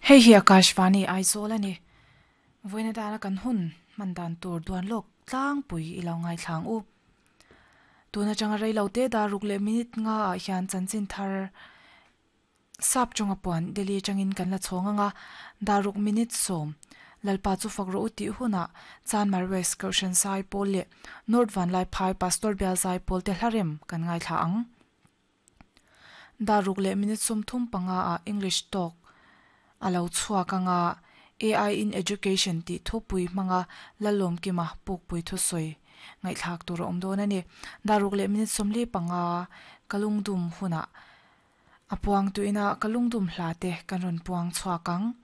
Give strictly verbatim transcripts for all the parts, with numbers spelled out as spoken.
Hei hi Akashvani Aizawl ani. Voina dana kan hun mandan tur duan lok tlang pui ilo ngai thlang u. Tuna changa reilo te da ruk le minute nga a hian chanchin thar sap chunga puan Delhi changin kan la chhonga nga daruk minute som lalpa chu fakro uti huna chan marwes koshan sai pol le North Van Lai Phai Pastor Bial Zai pol te hlarem kan ngai thla ang. Daruk le minute som thum panga a English talk alo chhuak anga A I in education ti thupui manga lalom kima pukpui thu soi ngai thlak tur om don ani. Daruk le minute somli panga kalungdum huna apuang tuina kalungdum hlate kanron puang chhuakang.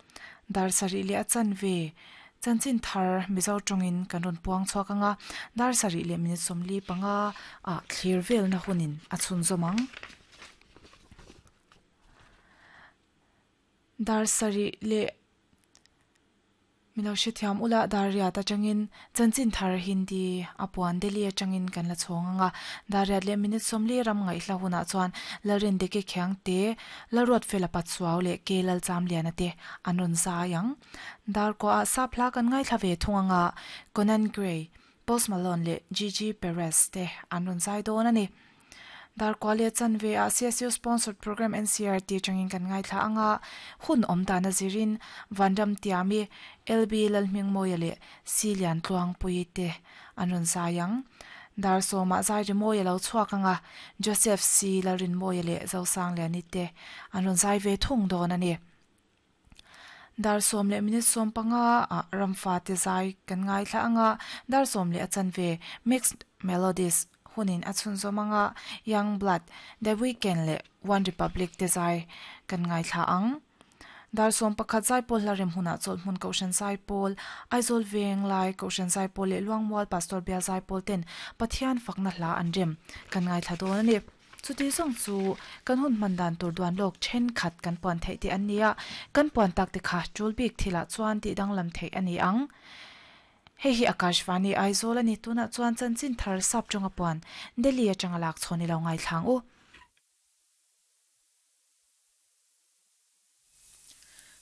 Dar sari le achan ve chanchin thar mizo tongin kanron puang chhuakanga dar sari le minute somli panga a clear vel na hunin achun zomang. Dar sari le milo shethiam ula daria ta changin chanchin thar Hindi apuan Delhi changin kan la chhonga daria le minute somli ram ngai hla huna chuan larin de ke khyang te larot fela patsuaw le kelal cham lian ate anon zayang. Dar ko a sapla kan ngai thlave thunga Conan Gray, Post Malone le Gigi Perez te anon zai don ani. Dar kwale chanve a C S U sponsored program N C R T changin kan ngai thla anga hun om ta na zirin vandam tiami L B lalming moyale silian tluang puite anun sayang. Dar soma zai ri moya lo chuak anga Joseph C lalrin moyale zosang le ni te anun zai ve thung don ani. Dar som le minute som panga a ramfa te zai kan ngai thla anga dar som le achanve mixed melodies hunin achun zomanga Young Blood, The Weekend le One Republic te zai kan ngai thla ang. Dar som pakhat zai pol larem huna chol hun koshan zai pol Aizawl veng lai koshan zai pol le luangwal pastor bia zai pol ten pathian fakna hla an rem kan ngai thla don ani. Chuti song chu kan hun mandan tur duan lok then khat kan pon thei te ania kan pon tak te kha chul bik thila chuan ti danglam thei ani ang. Hei hi Akashvani Aizawl ani tuna chuan chanchin thar sap chunga puan Delhi atanga lak chhoni lo ngai thlang u.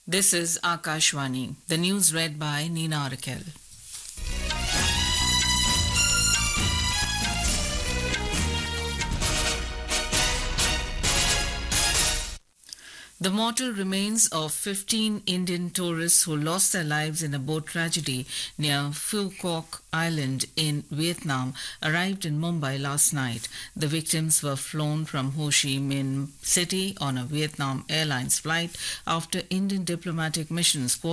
This is Akashvani, the news read by Nina Rakel. The mortal remains of fifteen Indian tourists who lost their lives in a boat tragedy near Phu Quoc Island in Vietnam arrived in Mumbai last night. The victims were flown from Ho Chi Minh City on a Vietnam Airlines flight after Indian diplomatic missions